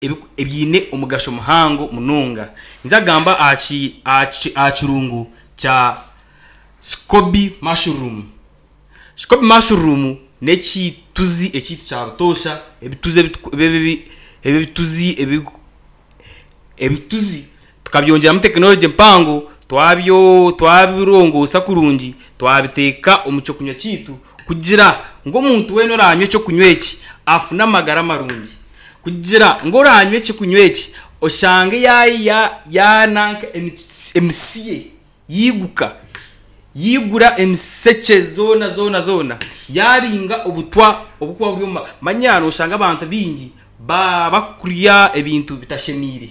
Ebiine omugasho muhango munonga. Ninza kugamba aha kirungo kya scoby mushroom. Scoby mushroom n'ekituzi ekyaitu kya butoosha, ebituzi ebituzi ebituzi tukabyongyeramu tekinologye mpango twabirongoosa kurungi twabiteeka omu ky'okunywa kyaitu kugira ngu omuntu weena oraanywa eky'okunywa eki afune amagara marungi. Kugira ngu oraanywa eky'okunywa eki oshange yaananka emisi ye yaiguka, yaigura emisekye zoona zoona zoona, yaabinga obutwa oburikuba buri omu Manya nooshanga abantu baingi barikurya ebintu bitashemeire.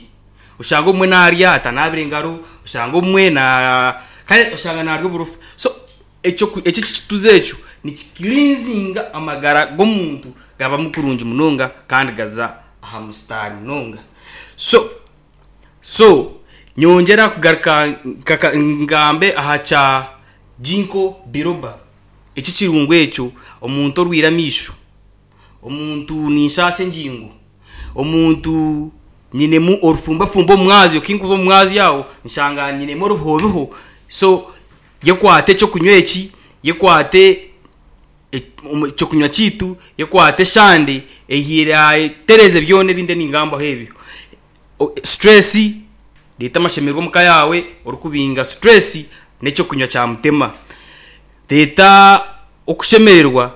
Oshanga obumwe naarya atanaabire ngaro, oshanga obumwe na kare oshanga naarya oburofa. So ekyo ekituzi ekyo nikikirinzinga amagara g'omuntu gabamu kurungi munonga kandi gaza aha musitaari munonga. So so nyongyera kugaruka ngambe aha kya Ginkgo biloba, eki ekirungo ekyo omuntu orwaire amaisho, omuntu ninshaasha engingo, omuntu nyinemu orufumbafumba omu mwazyo, kinkuba omu mwazyo aho nshanga nyinemu orubihobiho, so yekwate ekyokunywa eki, yekwate ekyokunywa kyaitu, yekwate eshande ehiire atereeze byona ebi ndiyo ningambaho ebyo. Stress, reeta amashemererwa omuka yaawe orikubinga stress n'ekyokunywa kya mutema. Reeta okushemererwa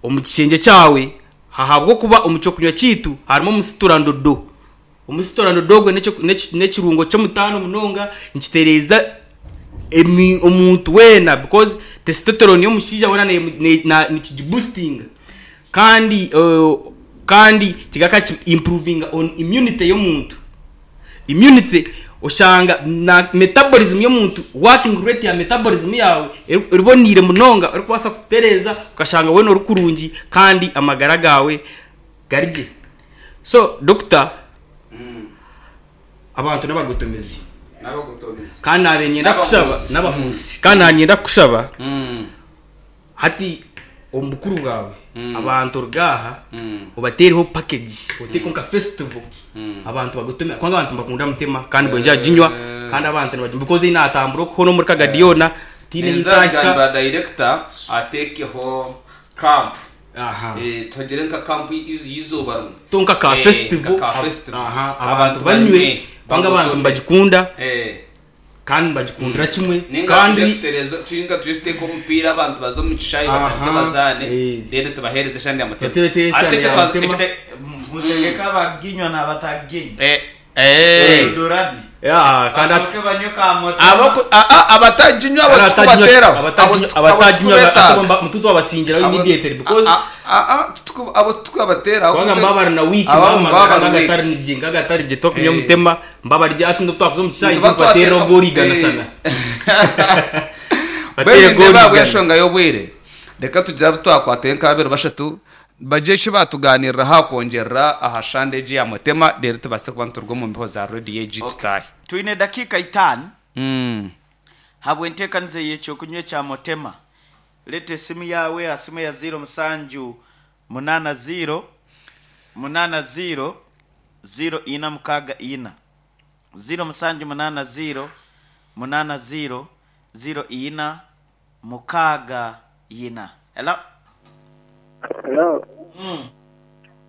omu kishengye kyawe ahabw'okuba omu kyokunywa kyaitu harimu omusiturandodo. Omusiturandodo ogwo n'ekirungo ky'omutaano munonga nikitereeza omuntu weena because testosterone y'omushaija weena nikigibusitinga kandi kandi kigaruka ki improvinga on immunity y'omuntu. Immunity oshanga na metabolism y'omuntu working rate ya metabolism yaawe eboneire munonga orikubaasa kutereeza okashanga weena ori kurungi kandi amagara gaawe gari gye. So doctor abantu n'abagotomezi kandi naabaire niinyenda kukushaba n'abahuuzi kandi naabaire niinyenda kukushaba hati omu bukuru bwawe abantu oruge aha obateereho package oteekeho nka festival abantu bagotome kubanga abantu nibakunda mutema kandi mbwenu aginywa kandi abantu nibaginywa because ei naatambura okuhoona omuri Kagadi yoona tihaine ahu Ninza ntahika. kugambira director ateekeho camp. Aha. Eh, tuhagire nka camp y'eizooba rimwe. To nka ka Eh, festival, nka ka festival. aha, abantu banywe kubanga abantu bagotome. nibagikunda Eh. kandi nibagikundira kimwe Ninga kandi tuje tutereeze ninga tuje tuteeke omupiira abantu baze omu kishaayi Aha, batandike bazaane eh. then tubaheereze eshande ya mutema. Bateereho Ate eshande ekyo ya twa- mutema. ekite- Mutegeke abaginywa n'abataginywa. Eh, eh. Badodorane. Yeah, kandi ati- Basooke banywe ka mutema. Abaku- ah, ah, abataginywa abo kandi abataginywa titukubateeraho. Abo abataginywa abo abataginywa titukubeetaaga. mututu abasingiraho Abo- immediately because ah, ah, ah, tituku- abo titukubateeraho. kubanga mbaba na week Abo mbaba mbaba magara bari weak. ngagatari gye ngagatari gye twakunywa Eh. mutema mbaba rye ati twakuza omu kishaayi Nituba tubateerera twateeka- ogorigana Eh. shana bateere Mbwenu nindeeba gorigana ahabw'enshonga y'obwire reka tugire abu twakwatayo nk'ababiri bashatu bagye eki baatugaaniirira aha kwongyerera aha shande egi ya Mutema reero tubaase kuba nituruga omu mbeho za rediyo egi Okay. tutaahe. Twine dakiika itaano habw'enteekaniza ey'ekyokunywa ekya Mutema. Leeta esimu yaawe aha simu eya ziiro musanju munaana ziiro munaana ziiro ziiro ina mukaaga ina. 0780 80 04 6 4. Hello. Hello.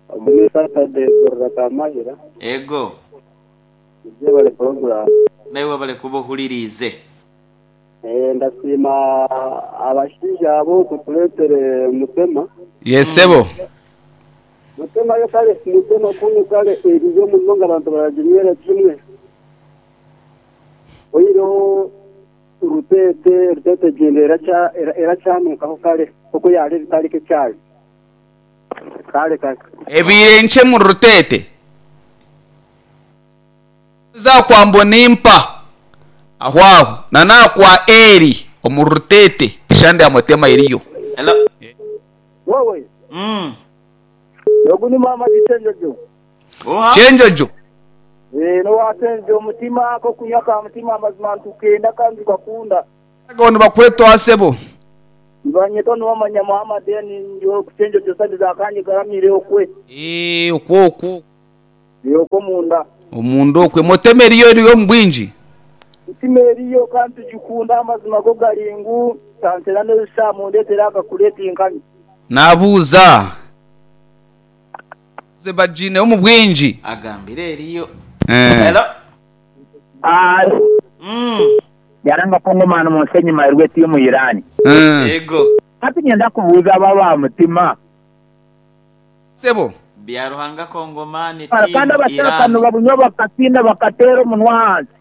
Ogu ni Saturday kuruga Kamahira. Ego. Mwebale program. Naiwe webale kuba ohuririize. Eh, ndasiima abashaija abo kutureetere Mutema. Yes sebo. Mutema yo kare Mutema kunu kare eriyo munonga abantu baraginywera kimwe. Oihireho Ruteete, Ruteete egyenda erakya erakyanukaho kare oku yaara ebitariko ekyari. Kare kare. Ebaire nkye omuri Ruteete. Oza kwa Mbonimpa aho aho na n'aha kwa Eli omuri Ruteete eshande ya Mutema eriyo. Hello. Wowe. Mm. Ogu ni maama Kyenjojo. Oha. Kyenjojo. Eeh n'owa Kyenjojo omutima ak'okunywa ka mutima amazima nitukenda kandi nitukakunda. Ago nibakwetwa sebo. Nibanyetwa Nuwamanya Muhammad ndi oku Kyenjojo side za Kanyigaramiire okwe. Eeh okwo okwo. Eri okwo omunda. Omunda okwo. Motema eriyo eriyo omu bwingi? Mutima eriyo kandi tugikunda amazima go gari ngu tantera n'ezisa mundetera akakureti nkanywa. Nabuuza. Ze bagiineho omu bwingi. Agambire eriyo. Eh. Hello. Mm. Yaranga Kongomani omu nsi enyima erwe tiimu Iran. Eh. Yego. Hati niinyenda kubuuza abo aba mutima. Sebo. Byaruhanga Kongomani Kandi team abashaka Iran. nibabunywa bakasinda bakateera omunwa ahansi.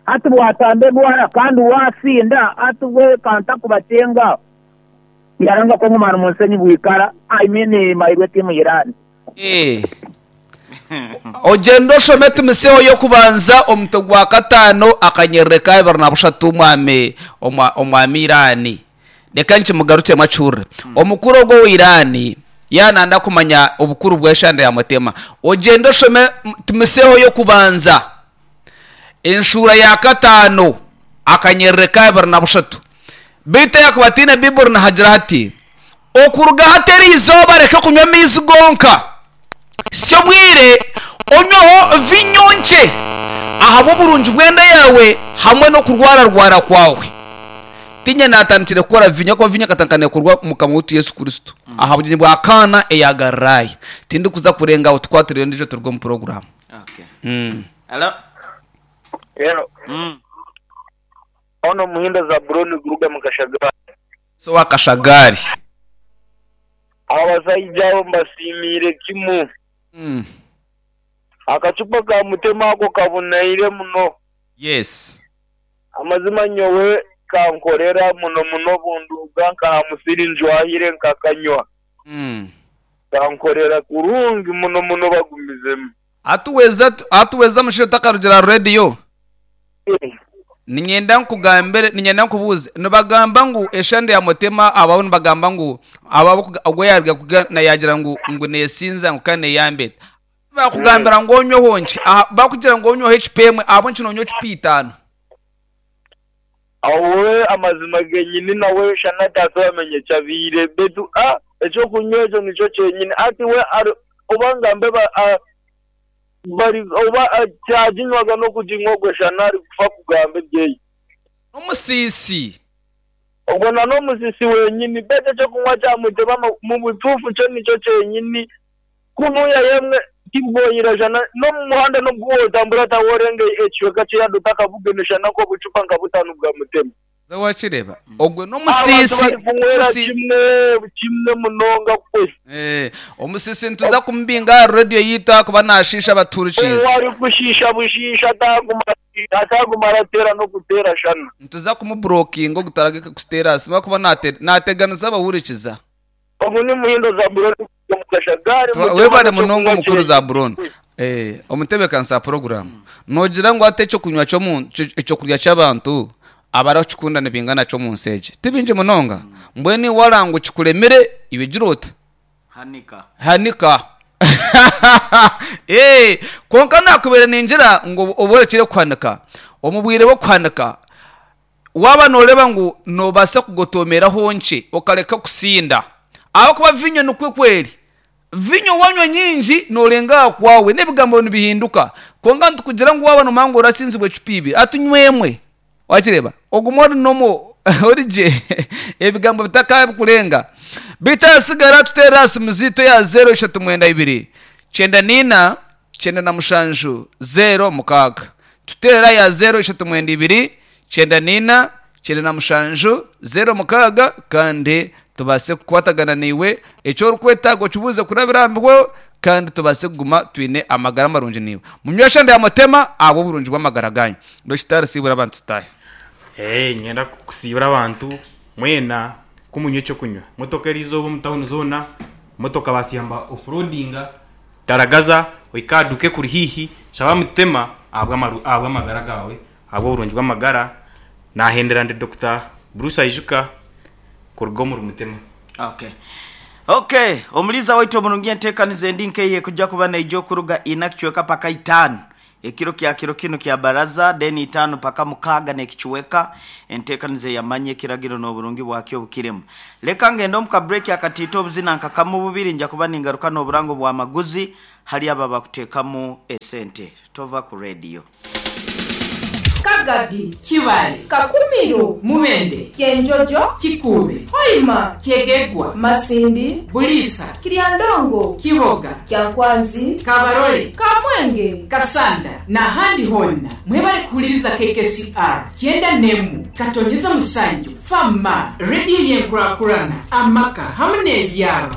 Hati bwatamba endwara kandi waasinda hati bwe kantakubacenga. Yaranga Kongomani omu nsi enyi bwikara I mean mairwe tiimu Iran. Eh. Ogyende oshome Timotheo y'okubanza omutwe gwa kataano akanyerere ka ibiri na bushatu omwami omwami Irani. Reka nkimugarukyemu akihurire. Omukuru ogwo owa Irani yaaba nayenda kumanya obukuru bw'eshande ya Mutema, ogyende oshome Timotheo y'okubanza Enshuura ya kataano, akanyerere ka 23. Beitu ahakuba ataine Baiburi nihagira hati, Okuruga hati eri izooba reka kunywa amaizi gonka, si obwire onyweho viinyo nkye ahabw'oburungi bw'enda yaawe hamwe n'okurwararwara kwawe. Tiinye naatandikire kukora viinyo ahakuba viinyo ekatandika neekorwa Mukama waitu Yesu Kristo aha bugyenyi bwa Kaana eya Galilaaya. Tindikuza kurenga aho tukwatireyo endiijo turuge omu puroguraamu. Okay. Hello. Hello. Ono Muhindo Zaburoni kuruga mu Kashagari. So wa Kashagari. Abasaija abo mbasiimiire kimu. Akacupa ka Mutema ako kaboneire muno. Yes. Amazima nyowe kankorera muno muno obunduga nka aha musiri njwahire nkakanywa. Kankorera kurungi muno muno bagumizemu. Atuweza atuweza omushaija otakarugire aha rediyo. Niinyenda nkugambire, niinyenda nkubuuze, nibagamba ngu eshande ya Mutema abaho nibagamba ngu abo ogwo yaaruga kuga yaagira ngu ngu neesinza ngu kandi neeyamba eta. Baakugambira ngu onyweho nkye, aha baakugira ngu onyweho ecupa emwe, ahabw'enki noonywa ecupa itaano? Awe amazima genyini nawe shana tasobamenya ekyabaire beitu a ekyokunywa ekyo nikyo kyenyini ati we ari oba ngambe ba a bari oba a kyaginywaga nokuginywa ogwe shana ari kufa kugamba ebyeye. N'omusiisi. Ogwo na n'omusisi wenyini beitu ekyokunywa kyamuteba mubutuufu kyo nikyo kyenyini Kunuya yemwe tibwoyira shana n'omu muhanda n'obu wotambura taworenga ekicweka ky'eyadi otakabugene shana nk'obucupa nka butano bwa mutema. Haza wakireeba ogwe Abantu n'omusiisi bari kunywera omusiisi kimwe kimwe munonga kwe. Eh, omusiisi nituza kumubinga aha rediyo yaitu ahakuba naashiisha abatuhurikiize. Ou arikushiisha bushiisha ataguma ataguma arateera n'okuteera shana. Nituza kumuburokinga ogu taragaruka kututeera aha simu ahakuba naate naateganisa abahurikiza. Ogu ni Muhindo Zaburoni kuruga omu Kashagari, Mutima Webare munonga n'eky'okunywa omukuru kye. Zaburoni. Eh, omutebeekanisa wa puroguraamu, noogira ngu hati eky'okunywa ky'omu eky'okurya ky'abantu abarikukikunda nibingana ki omu nsi egi? Ti bingi munonga. Mbwenu iwe waraba ngu kikuremire, iwe gira ota? Hanika. Hanika. Eh, kwonka naakubaire ningira ngu obe orekire kuhanika. Omu bwire bw'okuhanika, Waaba nooreeba ngu noobaasa kugotoomeraho nkye okareka kusinda, ahabw'okuba viinyo nikwo ku eri. Viinyo waanywa nyingi noorenga aha kwawe n'ebigambo nibihinduka. Kwonka nitukugira ngu waaba noomanya ngu orasinzibwa ecupa ibiri, hati nywa emwe. Waakireeba? Ogume ori normal, ori gye, ebigambo bitakaakurenga. Beitu ahasigara tuteerere aha simu zaitu eya zeero ishatu mwenda ibiri, kyenda naina, 97 06. Tuteera ya zeero ishatu mwenda ibiri, 94, 97 06 kandi tubaase kukwatagana naiwe. Eki orikwetaaga okibuuze kurabira aha miho kandi tubaase kuguma twine amagara marungi naiwe. Munywe eshande ya Mutema ahabw'oburungi bw'amagara gaanyu. Dokitaari siibura abantu tutaahe. Eeh niinyenda kusiibura abantu mwena ku munywa ekyokunywa. Motoka eriizooba omu tawuni zoona, motoka baasiyamba off-roadinga. Taragaza, ohike aha duuka ekuri haihi, shaba Mutema ahabw'amagara gaawe, ahabw'oburungi bw'amagara. Naahendera ndi Dokita Bruce Aijuka kuruga omuri Mutema. Okay. Okay, omuliiza waitu omurungi enteekaniza endi nk'eyo ekuja kuba neija okuruga ina kicweka paka itaano. Ekiro kya kiro kinu kya baraza, then itaano paka mukaaga n'ekichweka, enteekaniza ey'amanya ekiragiro n'oburungi bwakyo obukirimu. Leka ngende omu ka break akatiito obuzina nka kamu bubiri nja kuba ningaruka n'oburango bw'amaguzi hali abo abakuteekamu esente. Tova ku radio. Kagadi. Kibaale. Kakumiro. Mubende. Kyenjojo. Kikuube. Hoima. Kyegegwa. Masindi. Buliisa. Kiryandongo. Kiboga. Kyankwanzi. Kabarole. Kamwenge. Kasanda n'ahandi hoona. Mwebale kuhuliriza KKCR kyenda n'emwe katonyeza musanju FM, rediyo y'enkurakurana, amaka hamu n'ebyaro.